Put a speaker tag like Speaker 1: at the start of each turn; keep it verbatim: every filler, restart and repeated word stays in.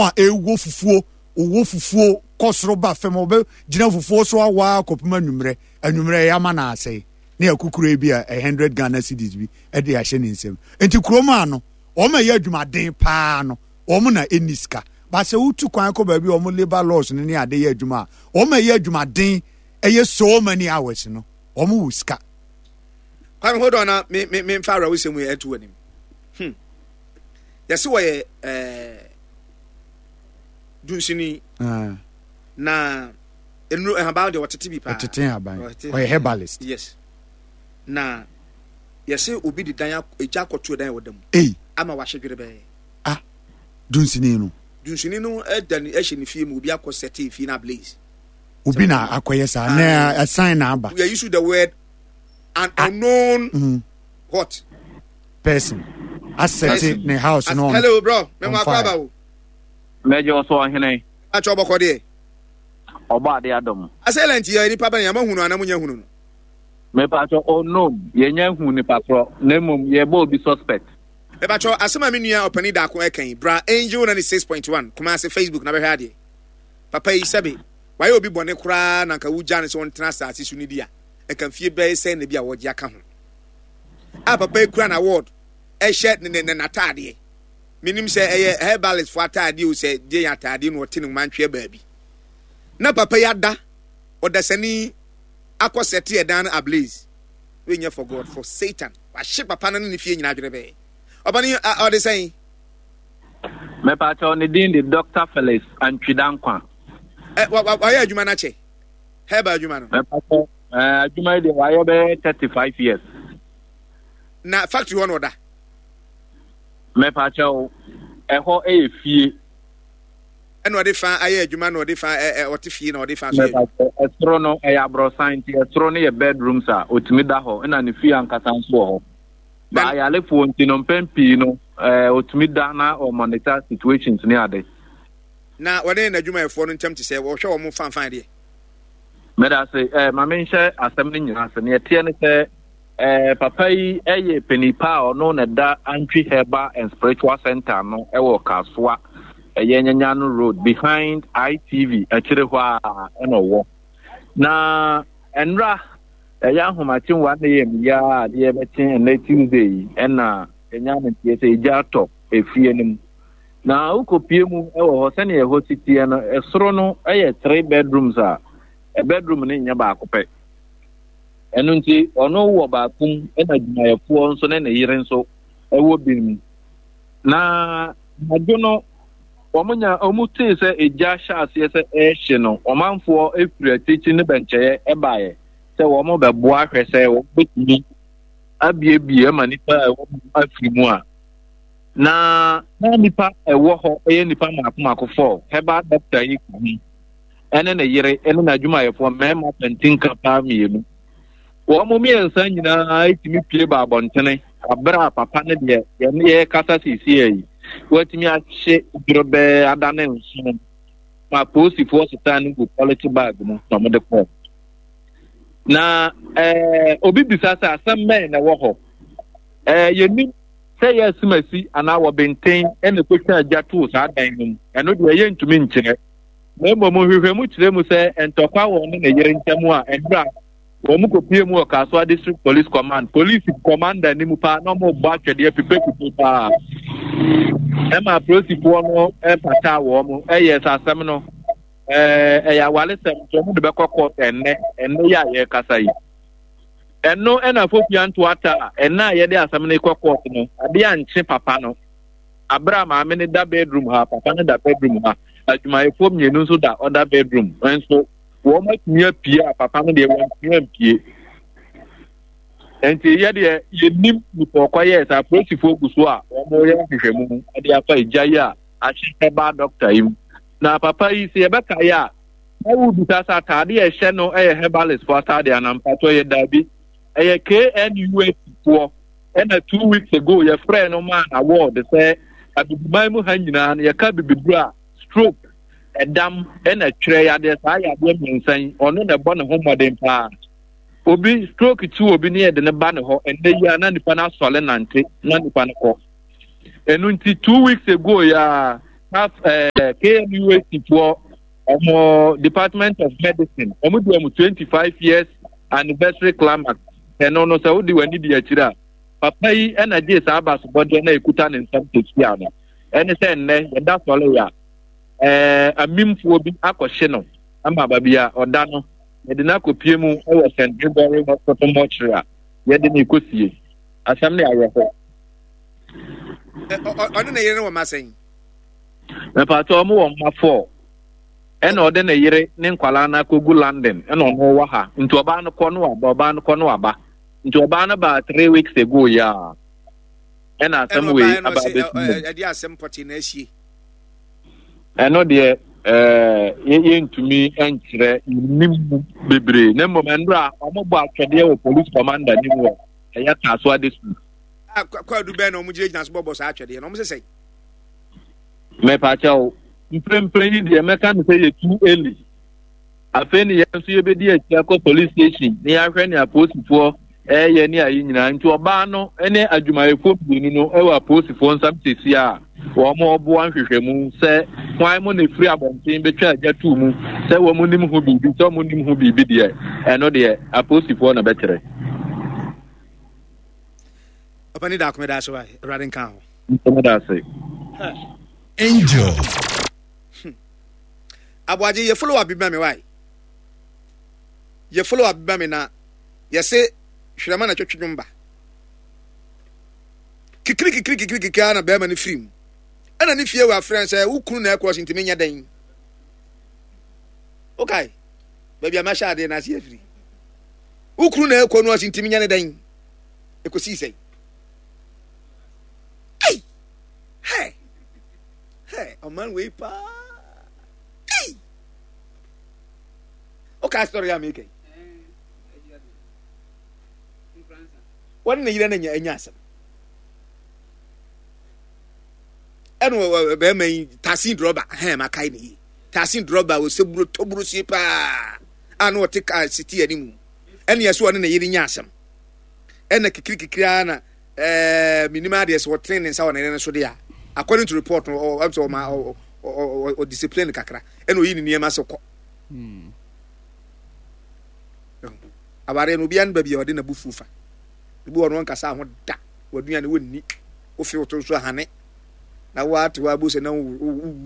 Speaker 1: A ɛwɔ fufuo, ɔwɔ fufuo kɔ soro ba fam, ɔbɛgyina fufuo so awaa kɔpem anwummerɛ. Anwummerɛ yɛ ama no asɛe ne akukuro bi a hundred Ghana cedis bi de ahyɛ ne nsam. Nti kurom a no wɔn a ɛyɛ adwumaden paa no, wɔn na ɛnni sika ba. Sɛ wotu kwan kɔ baabi a wɔn labour laws no ne ade yɛ adwuma a, wɔn a ɛyɛ adwumaden ɛyɛ so many hours no, wɔn wɔ sika.
Speaker 2: Kwame, hold on na me me me nfa awura wosɛm yi ɛto anim. hmm yɛsi wɔyɛ ɛɛ dunsini
Speaker 1: Ah,
Speaker 2: na nnuro nhaban deɛ, wɔtete bi paa.
Speaker 1: Ɔtete nhaban.
Speaker 2: Ɔtete.
Speaker 1: Ɔyɛ herbalist.
Speaker 2: Yes, na yɛsi obi de dan ak- egya akɔto dan a wɔda mu
Speaker 1: Ei!
Speaker 2: ama wahyɛ dwere bɛɛ.
Speaker 1: Ah, dunsini no?
Speaker 2: Dunsini no ɛda ne ɛhyɛ ne fie mu, obi akɔ sɛte fie na ablaze.
Speaker 1: Obi na akɔyɛ saa na ɛsan na aba.
Speaker 2: We are using the word an unknown
Speaker 1: Mm,
Speaker 2: what
Speaker 1: person asɛte ne house no on
Speaker 2: Hello bro, mɛ mo
Speaker 1: on
Speaker 2: akɔ
Speaker 1: fire.
Speaker 2: Aba o.
Speaker 3: Mɛgye ɔsɔ ɔhene.
Speaker 2: Atwa ɔbɔkɔ deɛ.
Speaker 3: Ɔbɔ ade adɔm.
Speaker 2: Assailant yɛ nipa bɛn? Yɛn hunu anam nyɛ hunu no?
Speaker 3: Mepatwɔ, unknown, yɛnya hu nipa korɔ, na mmom yɛbɔ obi suspect.
Speaker 2: Ɛbàtɔ asɛm a me nua ɔpanin daako ɛka yi, bra Angel ninety six point one Kumase Facebook na bɛhwɛ adeɛ. Papa yi, sɛbe wayɛ obi bɔne koraa na nka wogya no sɛ ɔntena asase so no di a, nka mfie bɛyɛ sɛn na bi a wɔgye aka ho a papa yi kura na award ɛhyɛ ne ne ne n'ataadeɛ. Menim sɛ ɛyɛ herbalist fo ataadeɛ o, sɛ deɛ yɛ ataadeɛ na ɔte ne nwoma baabi na papa yi ada ɔdasani akɔ sɛte ɛdan no ablaze. Wey nyɛ for God, for Satan. Wahye papa no ne ne fie nyinaa adwene bɛyɛ ɔba no ɔde sɛn.
Speaker 3: Mepatwɔ, ne din de Doctor Felix Antwidankwa.
Speaker 2: Ɛ wa wa wayɛ adwuma no akyɛ, herbal adwuma no?
Speaker 3: Mepatwɔ, ɛɛ, adwuma yi deɛ, wayɛ bɛyɛ thirty five years.
Speaker 2: Na factory hɔ na ɔda?
Speaker 3: Mepatwɔ, ɛhɔ yɛ fie.
Speaker 2: Ɛna ɔde fa ayɛ adwuma na ɔde fa ɛ ɛ ɔte fie na ɔde fa so yɛ adwuma?
Speaker 3: Mepatwɔ, ɛsoro no ɛyɛ aborɔsan, nti ɛsoro no yɛ bedrooms a otumi da hɔ, ɛna ne fie ankasa nso wɔ hɔ. Ba ayalefoɔ nti no, mpɛn pii no ɛɛ otumi da na ɔmonitor situations ne ade.
Speaker 2: Na wɔne n'adwumayɛfoɔ no ntam te sɛ wɔhwɛ wɔn fanfan deɛ?
Speaker 3: Mɛda ase. ɛɛ maame nhyɛ asɛm no nyinaa ase. Neɛ ɛteɛ ne sɛ ɛɛ papa yi ɛyɛ panipa a ɔno na ɛda Antwi Herbal and Spiritual Center no ɛwɔ Kasoa, ɛyɛ Nyanyano Road, behind I T V akyire hɔ a ɛna ɔwɔ. Na nwura ɛyɛ ahomakye one a m yi a adeɛ bɛkye ɛnɛ Tuesday yi, ɛna ɛnya no nteɛ sɛ egya atɔ efie no mu. Na wokɔpie mu ɛwɔ hɔ, sɛnea ɛhɔ si teɛ no, ɛsoro no ɛyɛ three bedrooms a bedroom no nyɛ baako pɛ. Ɛno nti ɔno wɔ baako mu, ɛna adwumayɛfoɔ nso ne ne yere nso ɛwɔ bi mu. Na anadwo no wɔn nya wɔn tee sɛ egya hyɛ aseɛ sɛ ɛrehye no, ɔmanfoɔ efiri akyirikyiri ne bɛnkyɛeɛ ɛbaeɛ sɛ wɔn bɛboa ahwɛ sɛ wɔn bɛtumi abiebie ama nipa a ɛwɔ mu afiri mu a. Na na nipa ɛwɔ hɔ ɛyɛ nipa mako mako four. Herbal doctor yi ka ho, ɛne ne yere, ɛne n'adwumayɛfoɔ mmarima kantinka paa mmienu. Wɔn mmiɛnsa nyinaa etumi pie ba abɔntene abere a papa ne deɛ yɛne yɛ kasa siesie yi, wɔatumi ahye dworobɛɛ adane nson ma polisifoɔ sesan no gu polythene bag mu na wɔde kɔɔ. Na ɛɛ obi bisa sɛ asɛm bɛn na ɛwɔ hɔ? ɛɛ yɛnim sɛ yɛ asimasi anaa wɔbɛnten ɛna ekotwa agya too saa dan no mu, ɛno deɛ yɛntumi nkyerɛ. Na mmom nhwehwɛmu kyerɛ mu sɛ ntɔkwa wɔ ne ne yere ntam a nwura wɔn kɔpie mu wɔ Kasoa District Police Command, police commander anim paa, na wɔn bɔ atwɛdeɛ pipepipe paa ɛma apolisifoɔ no ɛpata wɔn. Ɛyɛ sɛ asɛm no ɛɛ ɛyɛ awaresɛm, nti wɔn de bɛkɔ court ɛnnɛ ɛnnɛ yi a yɛrekasa yi. Ɛno ɛna Fofia Ntoata a ɛnna a yɛde asɛm no kɔ court no, adeɛ ankye papa no abere a maame no da bedroom ha, papa no da bedroom ha, adwumayɛfoɔ mmienu nso da ɔda bedroom nso, wɔn atumi apue a papa no deɛ wɔntumi ampue. Nti yɛdeɛ yɛnim nipa ɔkɔyɛɛ sɛ apolisifoɔ gu so a wɔyɛ nhwehwɛmu de afa egya yi a ahyɛ herbal doctor yi mu. Na papa yi, sɛ yɛbɛka yɛ a, na wobisa sɛ ataade a ɛhyɛ no yɛ herbalist foɔ ataade anaa? Mpatɔ yɛ daabi, ɛyɛ K N U S foɔ. Ɛna two weeks ago yɛfrɛ no maa award sɛ abibiman mu ha nyinaa no, yɛka bibiduro a, stroke, ɛdam, ɛna twerɛ yadeɛ, saa yadeɛ mmiɛnsa yi, ɔno na ɛbɔ ne ho mmɔden paa. Obi stroke kyi obi ne yɛde ne ba ne hɔ ɛnɛ yi a, na nipa no asɔle nante na nipa no kɔ. Ɛno nti two weeks ago yi a Af ɛɛ K N U H foɔ, ɔmo Department of Medicine, ɔmo di ɔmo twenty five years anniversary climax. Ɛno no, sɛ wodi w'ani di akyire a, papa yi ɛna gye saa abasobɔdeɛ na ekuta ne nsam tesia no. Ɛne sɛ nnɛ yɛda sɔre a, ɛɛ amimfoɔ bi akɔhye no ama baabi a ɔda no, yɛde no akɔpie mu ɛwɔ Saint Gregory Hospital mortuary a yɛde no ekɔsie. Asɛm ne awerɛho.
Speaker 2: Ɔne ne yere no wɔ ma sɛn?
Speaker 3: Mepatɛ, ɔmo wɔ mma four, ɛna ɔde ne yere ne nkwalaa no akɔgu London, ɛna ɔno wɔ ha. Nti ɔbaa no kɔ no waba, ɔbaa no kɔ no waba. Nti ɔbaa no baa three weeks ago yi a, ɛna asɛm wei aba abɛsi mu.
Speaker 2: Ɛde asɛm pɔtee na ahyie.
Speaker 3: Ɛno deɛ, ɛɛ yɛntumi nkyerɛ nim mu bebree, na mmom ɛnora ɔmo bɔ atwɛdeɛ wɔ police commander nim wɔ ɛyɛ Kasoa District.
Speaker 2: Kwadu bɛn na ɔmo gyinagyina so bɔbɔ saa atwɛdeɛ na ɔmo sɛ sɛn?
Speaker 3: Mɛpakyɛw, mprempren yi deɛ, mɛka no sɛ yɛ too early. Afei ne yɛn nso yɛbɛdi akyi akɔ police station na yɛahwɛ ne apolisifoɔ ɛyɛ ne ayi nyinaa. Nti ɔbaa no ne adwumayɛfoɔ mmienu no ɛwɔ apolisifoɔ nsam sisi a wɔn ɔboa nhwehwɛmu sɛ hwan mo na efiri abɔnten bɛtwa agya tuu mu, sɛ wɔn nim ho biribi, sɛ wɔn nim ho biribi deɛ, ɛno deɛ apolisifoɔ na bɛkyerɛ.
Speaker 2: Ɔpɛni daako, mɛda ase wa, Awurade nka ho.
Speaker 3: Nsɛm da ase.
Speaker 4: Angel.
Speaker 2: Aboagye, yɛ follow up bi ma me wae, yɛ follow up bi ma me na yɛse hwerɛma na twɛtwe dwom ba kikiri kikiri kikiri kikiri na bɛrima no firi mu, ɛna ne fie wɔ afrɛ sɛ wo kunu na ɛkorɔ so, ntumi nyɛ dɛn. Okay, baabi a mahyɛ adeɛ na ase afiri wo kunu na ɛkɔ no ase, ntumi nyɛ ne dɛn. Ɛkɔsii sɛn? Ei, hɛ hɛ, ɔman wei paa. Ei, wokaa story a meka yi, wɔne ne yere no anya anya asɛm, ɛna bɛrima yi taxi driver, hɛn makae ne yie, taxi driver wɔ sɛburo tɔburo sie paa a na ɔte kaa siti anim, ɛne ɛso ɔne ne yere nya asɛm, ɛna kikiri kikiri ara na ɛɛ minim adeɛ sɛ ɔtene ne nsa wɔ ne yere no so deɛ a, according to report no, ɔ ɔ ɔma ɔ ɔ ɔ discipline kakra, ɛna oyi ne nneɛma sɛ kɔ. Awareɛ no, obiara no baabi a ɔde n'abufuo fa. Ebi wɔ no, ɔnkasa ho da, waduane wɔnni, wofe woto nso ahane na woate hɔ abu sɛ na wowu.